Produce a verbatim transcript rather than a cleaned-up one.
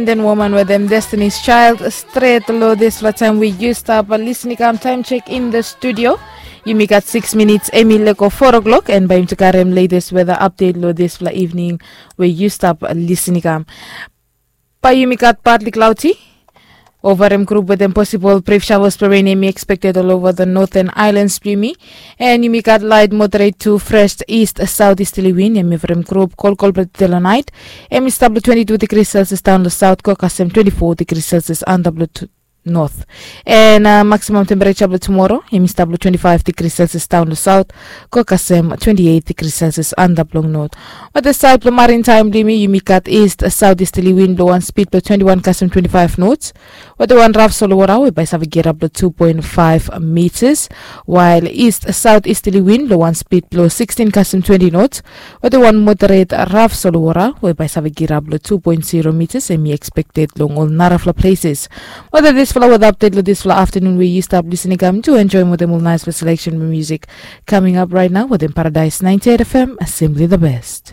Den woman wetem Destiny's Child stret long dispela taem we yu stap lisin i kam taem chek in the studio. Yumi gat six minits em i lego four o'clock, and bae yumi tu karem latest weather update long dispela evening we yu stap lisin i kam. Bae yumi gat partly cloudy, overem group wetem possible brief showers blong rain em i expected all over the northern islands blong yumi. And yumi gat light moderate to fresh east southeasterly wind em i overem group kolkol blong telo night. Em i stap long twenty-two degrees celsius down long south go kasem twenty-four degrees celsius under blong north. And uh, maximum temperature blong tomorrow em i stap long twenty-five degrees celsius down long south go kasem twenty-eight degrees celsius under blong north. Wata saed blong marin taem blong yumi, yumi gat east southeasterly wind blong wan speed blong twenty-one kasem twenty-five knots. Wata wan raf solowara we bae save girap long two point five meters, while east southeasterly wind blong wan speed blong sixteen kasem twenty knots. Wata wan moderate raf solowara we bae save girap long two point zero meters em i expected long ol narafla places. Wata disfala wata update long disfala afternoon we yu stap lisin i kam tu enjoy wetem ol nice selection music coming up right now wetem Paradise ninety-eight F M, simply the best.